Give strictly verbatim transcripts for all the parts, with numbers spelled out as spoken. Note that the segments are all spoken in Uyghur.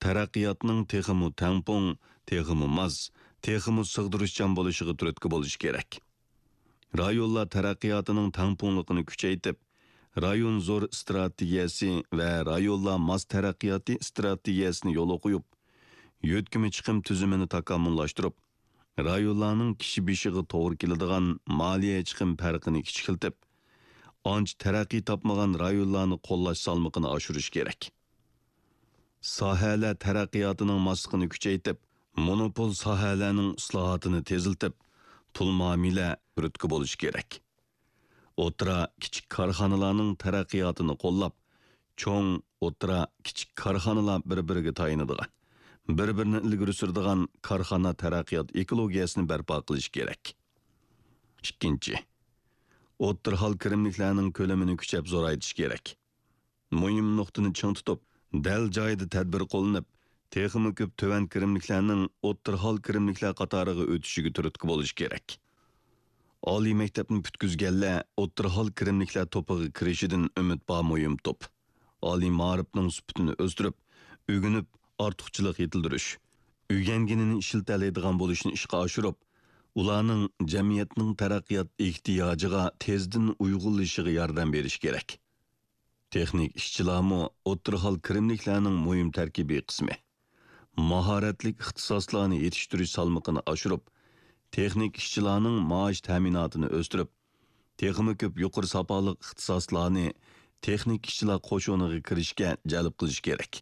تەرەققىياتنىڭ تېخىمۇ تەڭپۇڭ، تېخىمۇ ماس، تېخىمۇ سىغدۇرۇشچان بولۇشىغا تۈرتكە بولۇش كېرەك. رايونلار تەرەققىياتىنىڭ تەڭپۇڭلۇقىنى كۈچەيتىپ، رايون زور ئىستراتېگىيەسى ۋە رايونلار ماس تەرەققىياتى ئىستراتېگىيەسىنى يولغا قويۇپ، يۆتكىمە چىقىم تۈزۈمىنى تاكامۇللاشتۇرۇپ، رايونلارنىڭ كىشى بېشىغا توغرا كېلىدىغان مالىيە چىقىم پەرقىنى كىچىكلىتىپ، ئانچە تەرەققىي تاپمىغان رايونلارنى قوللاش سالمىقىنى ئاشۇرۇش كېرەك. ساھەلەر تەرەققىياتىنىڭ ماسلىقىنى كۈچەيتىپ، مونوپول ساھەلەرنىڭ ئىسلاھاتىنى تېزلىتىپ، پۇل مۇئامىلە تۈرتكە بولۇشى كېرەك. ئوتتۇرا، كىچىك كارخانىلارنىڭ تەرەققىياتىنى قوللاپ، چوڭ، ئوتتۇرا، كىچىك كارخانىلار بىر-بىرىگە تايىنىدىغان، بىر-بىرىنى ئىلگىرى سۈرىدىغان كارخانا تەرەققىيات ئېكولوگىيەسىنى بەرپا قىلىش كېرەك. ئىككىنچى، ئوتتۇرا ھال كىرىملىكلەرنىڭ كۆلىمىنى كۈچەپ زورايتىش كېرەك. مۇھىم نۇقتىنى چىڭ تۇتۇپ، دەل جايىدا تەدبىر قوللىنىپ، تېخىمۇ كۆپ تۆۋەن كىرىملىكلەرنىڭ ئوتتۇرا ھال كىرىملىكلەر قاتارىغا ئۆتۈشىگە تۈرتكە بولۇش كېرەك. ئالىي مەكتەپنى پۈتكۈزگەنلەر ئوتتۇرا ھال كىرىملىكلەر توپىغا كىرىشىدىن ئۈمىد بار مۇھىم توپ. ئالىي مائارىپنىڭ سۈپىتىنى ئۆستۈرۈپ، ئۆگىنىپ، ئارتۇقچىلىق يېتىلدۈرۈش، ئۆگەنگىنىنى ئىشلىتەلەيدىغان بولۇشنى ئىشقا ئاشۇرۇپ، ئۇلارنىڭ جەمئىيەتنىڭ تەرەققىيات ئېھتىياجىغا تېزدىن ئۇيغۇنلىشىشىغا ياردەم بېرىش كېرەك. تېخنىك ئىشچىلارمۇ ئوتتۇرا ھال كىرىملىكلەرنىڭ مۇھىم تەركىبىي قىسمى. ماھارەتلىك ئىختىساسلارنى يېتىشتۈرۈش سالمىقىنى ئاشۇرۇپ، تېخنىك ئىشچىلارنىڭ مائاش تەمىناتىنى ئۆستۈرۈپ، تېخىمۇ كۆپ يۇقىرى ساپالىق ئىختىساسلارنى تېخنىك ئىشچىلار قوشۇنىغا كىرىشكە جەلپ قىلىش كېرەك.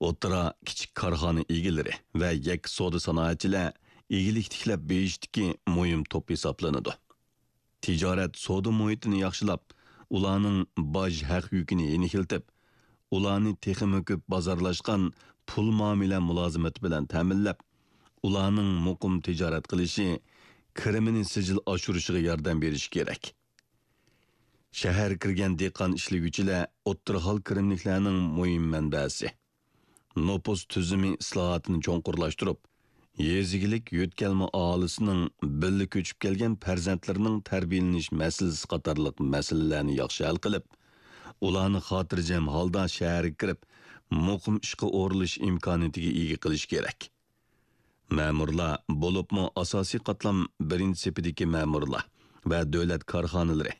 ئوتتۇرا، كىچىك كارخانا ئىگىلىرى ۋە يەككە سودا سانائەتچىلەر ئىگىلىك تىكلەپ بېيىشتىكى مۇھىم توپ ھېسابلىنىدۇ. تىجارەت سودا مۇھىتىنى ياخشىلاپ، ئۇلارنىڭ باج ھەق يۈكىنى يېنىكلىتىپ، ئۇلارنى تېخىمۇ كۆپ بازارلاشقان پۇل مۇئامىلە مۇلازىمىتى بىلەن تەمىنلەپ، ئۇلارنىڭ مۇقىم تىجارەت قىلىشى، كىرىمىنى سىجىل ئاشۇرۇشىغا ياردەم بېرىش كېرەك. شەھەرگە كىرگەن دېھقان ئىشلىگۈچىلەر ئوتتۇرا ھال كىرىملىكلەرنىڭ مۇھىم مەنبەسى. نوپۇس تۈزۈمى ئىسلاھاتىنى چوڭقۇرلاشتۇرۇپ، يېزا ئىگىلىك يۆتكەلمە ئاھالىسىنىڭ بىللە كۆچۈپ كەلگەن پەرزەنتلىرىنىڭ تەربىيەلىنىش مەسىلىسى قاتارلىق مەسىلىلەرنى ياخشى ھەل قىلىپ، ئۇلارنى خاتىرجەم ھالدا شەھەرگە كىرىپ، مۇقىم ئىشقا ئورۇنلىشىش ئىمكانىيىتىگە ئىگە قىلىش كېرەك. مەمۇرلار، بولۇپمۇ ئاساسىي قاتلام بىرىنچى سېپىدىكى مەمۇرلار ۋە دۆلەت كارخانىلىرى،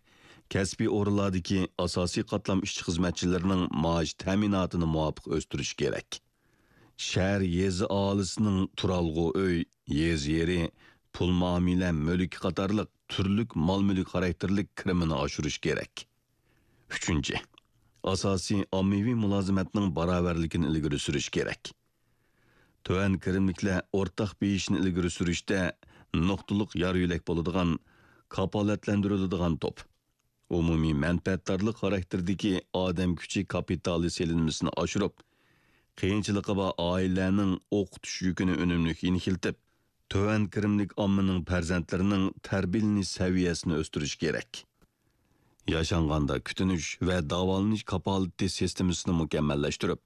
كەسپىي ئورۇنلاردىكى ئاساسىي قاتلام ئىشچى-خىزمەتچىلىرىنىڭ مائاش تەمىناتىنى مۇۋاپىق ئۆستۈرۈش كېرەك. شەھەر، يېزا ئاھالىسىنىڭ تۇرالغۇ ئۆي، يېزا يېرى، پۇل مۇئامىلە مۈلكى قاتارلىق تۈرلۈك مال-مۈلۈك خاراكتېرلىك كىرىمىنى ئاشۇرۇش كېرەك. ئۈچىنچى، ئاساسىي ئاممىۋى مۇلازىمەتنىڭ باراۋەرلىكىنى ئىلگىرى سۈرۈش كېرەك. تۆۋەن كىرىملىكلەر ئورتاق بېيىشنى ئىلگىرى سۈرۈشتە نۇقتىلىق يار-يۆلەك بولىدىغان، كاپالەتلەندۈرۈلىدىغان توپ. ئومۇمىي مەنپەئەتدارلىق خاراكتېرىدىكى ئادەم كۈچى كاپىتالى سېلىنمىسىنى ئاشۇرۇپ، قىيىنچىلىقى بار ئائىلىلەرنىڭ ئوقۇتۇش يۈكىنى ئۈنۈملۈك يېنىكلىتىپ، تۆۋەن كىرىملىك ئاممىنىڭ پەرزەنتلىرىنىڭ تەربىيەلىنىش سەۋىيەسىنى ئۆستۈرۈش كېرەك. ياشانغاندا كۈتۈنۈش ۋە داۋالىنىش كاپالىتى سىستېمىسىنى مۇكەممەللەشتۈرۈپ،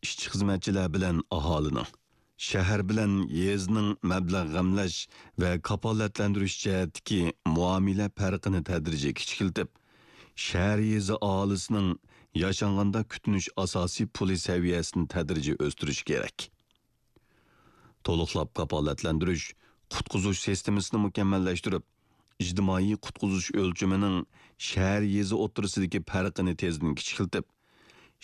ئىشچى-خىزمەتچىلەر بىلەن ئاھالىنىڭ، شەھەر بىلەن يېزىنىڭ مەبلەغ غەملەش ۋە كاپالەتلەندۈرۈش جەھەتتىكى مۇئامىلە پەرقىنى تەدرىجىي كىچىكلىتىپ، شەھەر يېزا ئاھالىسىنىڭ ياشانغاندا كۈتۈنۈش ئاساسىي پۇلى سەۋىيەسىنى تەدرىجىي ئۆستۈرۈش كېرەك. تولۇقلاپ كاپالەتلەندۈرۈش، قۇتقۇزۇش سىستېمىسىنى مۇكەممەللەشتۈرۈپ، ئىجتىمائىي قۇتقۇزۇش ئۆلچىمىنىڭ شەھەر يېزا ئوتتۇرىسىدىكى پەرقىنى تېزدىن كىچىكلىتىپ،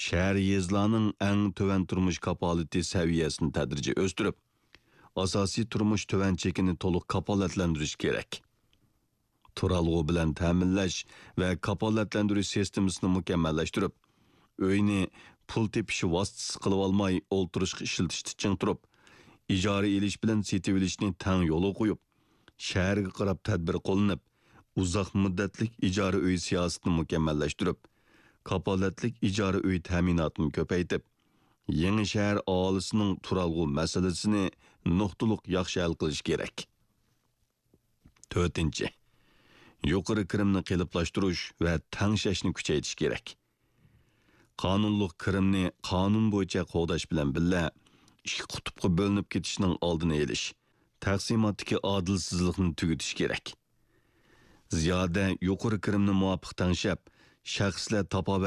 شەھەر يېزىلارنىڭ ئەڭ تۆۋەن تۇرمۇش كاپالىتى سەۋىيەسىنى تەدرىجىي ئۆستۈرۈپ، ئاساسىي تۇرمۇش تۆۋەن چېكىنى تولۇق كاپالەتلەندۈرۈش كېرەك. تۇرالغۇ بىلەن تەمىنلەش ۋە كاپالەتلەندۈرۈش سىستېمىسىنى مۇكەممەللەشتۈرۈپ، ئۆينى پۇل تېپىش ۋاسىتىسى قىلىۋالماي ئولتۇرۇشقا ئىشلىتىشتە چىڭ تۇرۇپ، ئىجارە ئېلىش بىلەن سېتىۋېلىشنى تەڭ يولغا قويۇپ، شەھەرگە قاراپ تەدبىر قوللىنىپ، ئۇزاق مۇددەتلىك ئىجارە ئۆي سىياسىتىنى مۇكەممەللەشتۈرۈپ، كاپالەتلىك ئىجارە ئۆي تەمىناتىنى كۆپەيتىپ، يېڭى شەھەر ئاھالىسىنىڭ تۇرالغۇ مەسىلىسىنى نۇقتىلىق ياخشى ھەل قىلىش كېرەك. تۆتىنچى، يۇقىرى كىرىمنى قېلىپلاشتۇرۇش ۋە تەڭشەشنى كۈچەيتىش كېرەك. قانۇنلۇق كىرىمنى قانۇن بويىچە قوغداش بىلەن بىللە، ئىككى قۇتۇپقا بۆلۈنۈپ كېتىشنىڭ ئالدىنى ئېلىش، تەقسىماتتىكى ئادىلسىزلىقنى تۈگىتىش كېرەك. زىيادە يۇقىرى كىرىمنى مۇۋاپىق تەڭشەپ، شەخسلەر تاپاۋەت